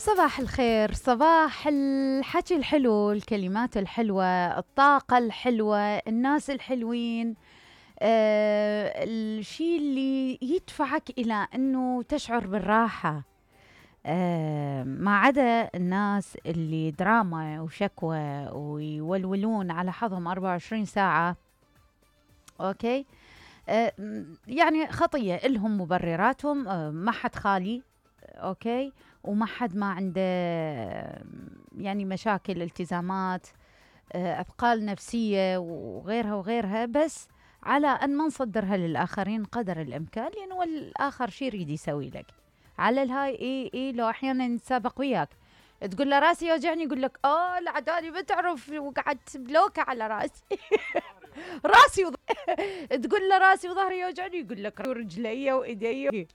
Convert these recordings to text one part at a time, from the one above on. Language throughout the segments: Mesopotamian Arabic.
صباح الخير، صباح الحكي الحلو، الكلمات الحلوة، الطاقة الحلوة، الناس الحلوين. الشيء اللي يدفعك إلى أنه تشعر بالراحة. ما عدا الناس اللي دراما وشكوى ويولولون على حظهم 24 ساعة. أوكي. يعني خطية، إلهم مبرراتهم. ما حد خالي. أوكي. وما حد ما عنده يعني مشاكل، التزامات، أثقال نفسية وغيرها وغيرها، بس على أن ما نصدرها للآخرين قدر الإمكان، لأنه الآخر شي يريد يسوي لك على الهاي. إيه لو أحيانا نتسابق وياك، تقول له راسي يوجعني، يقول لك العدالي ما تعرف وقعدت بلوكة على راسي. راسي تقول له راسي وظهري يوجعني، يقول لك رجلي وإيدي.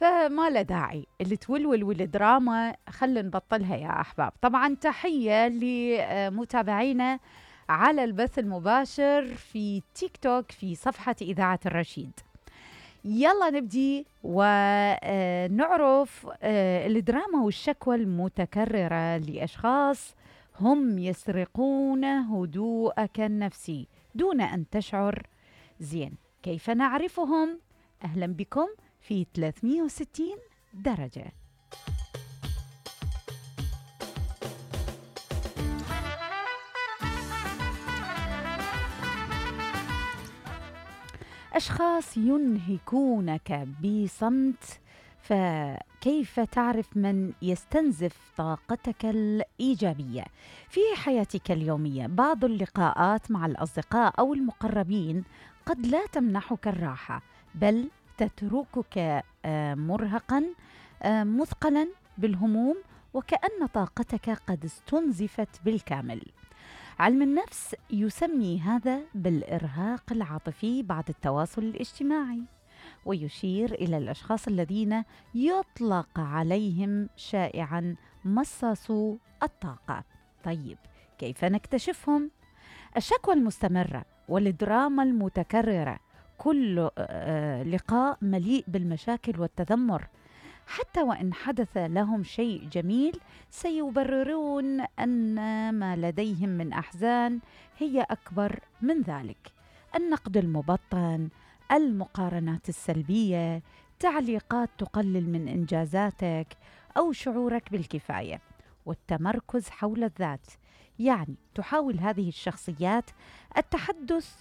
فما له داعي اللي تولول والدراما، خلينا نبطلها يا أحباب. طبعا تحية لمتابعينا على البث المباشر في تيك توك في صفحة إذاعة الرشيد. يلا نبدي ونعرف الدراما والشكوى المتكررة لأشخاص هم يسرقون هدوءك النفسي دون أن تشعر. زين، كيف نعرفهم؟ أهلا بكم في 360 درجة. أشخاص ينهكونك بصمت، فكيف تعرف من يستنزف طاقتك الإيجابية في حياتك اليومية؟ بعض اللقاءات مع الأصدقاء أو المقربين قد لا تمنحك الراحة، بل تتركك مرهقا، مثقلا بالهموم، وكأن طاقتك قد استنزفت بالكامل. علم النفس يسمي هذا بالإرهاق العاطفي بعد التواصل الاجتماعي، ويشير إلى الأشخاص الذين يطلق عليهم شائعا مصاصو الطاقة. طيب، كيف نكتشفهم؟ الشكوى المستمرة والدراما المتكررة، كل لقاء مليء بالمشاكل والتذمر. حتى وإن حدث لهم شيء جميل، سيبررون أن ما لديهم من أحزان هي أكبر من ذلك. النقد المبطن، المقارنات السلبية، تعليقات تقلل من إنجازاتك أو شعورك بالكفاية، والتمركز حول الذات. يعني تحاول هذه الشخصيات التحدث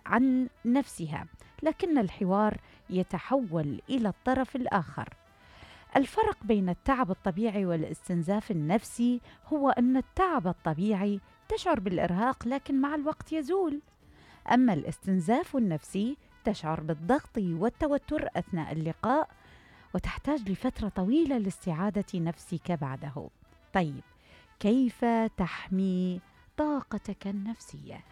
عن نفسها، لكن الحوار يتحول إلى الطرف الآخر. الفرق بين التعب الطبيعي والاستنزاف النفسي هو أن التعب الطبيعي تشعر بالإرهاق لكن مع الوقت يزول، أما الاستنزاف النفسي تشعر بالضغط والتوتر أثناء اللقاء وتحتاج لفترة طويلة لاستعادة نفسك بعده. طيب، كيف تحمي طاقتك النفسية؟